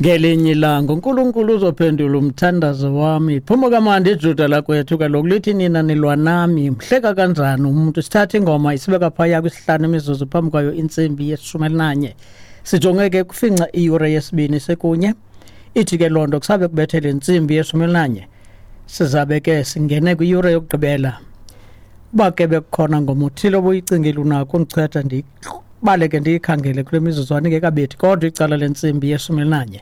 Ngelinye ilanga uNkulunkulu uzophendula umthandazo wami. Phuma kamandi iJuda lakwethu kaloku lithi nina nilwa nami. Mhleka kanjani umuntu sithatha ingoma isibeka phaya kwisihlanu imizuzu phambi kwayo intsimbi yeshumi elinanye. Sijonge ke kufinca iyure yesibini sekunye. Ithi ke loo nto kusabe kubethele intsimbi yeshumi elinanye. Sizabe ke singene kwiyure yokugqibela. Uba ke bekukhona ngoma uthile obuyicingile unakho undichwetha ndibaleke ndiyikhangele kule mizuzwana ingekabethi kodwa icala lentsimbi yeshumi elinanye.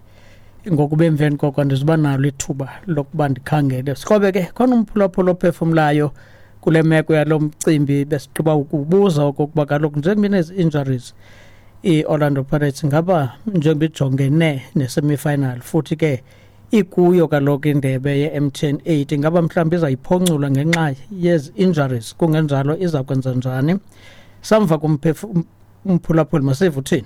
Ngokuba emveni koko andizuba nalo ithuba lokuba ndikhangele. Sikrobe ke khona umphulaphula ophefumlayo kule meko yalo mcimbi besigqiba ukubuza okokuba kaloku njengoba inezi injuries i-Orlando Pirates ngaba njengoba ijongene ne-semifinal futhi ke ikuyo kaloku indebe ye-MTN 8 ingaba mhlawumbi izayiphoncula ngenxa yezi injuries kungenjalo iza kwenza njani. Samva kumphulaphuli masive uthini.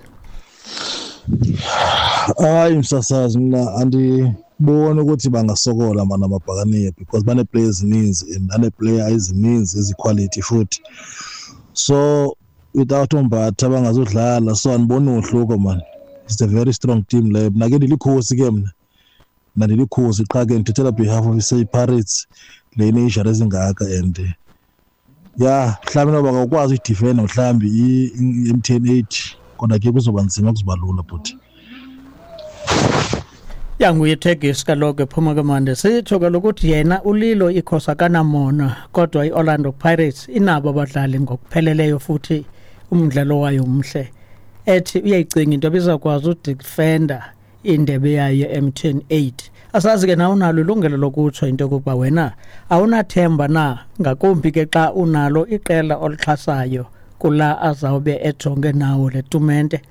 Hayi msasazi, mna andiboni ukuthi bangasokola mana amabhakaniya because banee-player ezininzi and banee-player ezininzi eziquality futhi, so without uMbatha bangazudlala, so andiboni wohluko man. It's a very strong team leyo. Mna ke ndilikhosi ke, mna ndilikhosi qha ke ndithethela behalf of i-Pirates le ine-injury ezingaka and ya mhlawumbi noba bakawukwazi uyidifenda mhlawumbi i-MTN 8, kodwa ke kuzoba nzima, kuzoba lula bhuti. Yanguye Tegis kaloku ephuma kamande sitsho kaloku ukuthi yena ulilo ikhosi akanamona, kodwa i-Orlando Pirates inabo abadlali ngokupheleleyo futhi umdlalo wayo umhle. Ethi uyayicinga into ebizakwazi udefenda indebe yayo ye-MTN 8. Asazi ke nawe unalo ilungelo lokutsho into yokokuba wena awunathemba na, ngakumbi ke xa unalo iqela olixhasayo kula azawube ejonge nawo le tumente.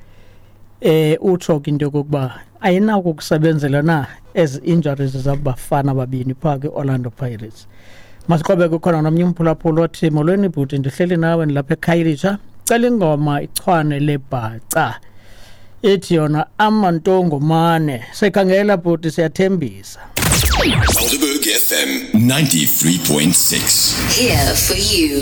Utsho ke into yokokuba ayinako ukusebenzela na ezi injuries zabafana babini phaa kwi-Orlando Pirates. Masiqhubeke, kukhona nomnye umphulaphula othi molweni bhuti, ndihleli nawe ndilapha eKhayelitsha, cela ingoma ichwane lebhaca ithi yona amantongomane. Sekhangela bhuti, siyathembisa. Helderberg FM 93.6. Here for you.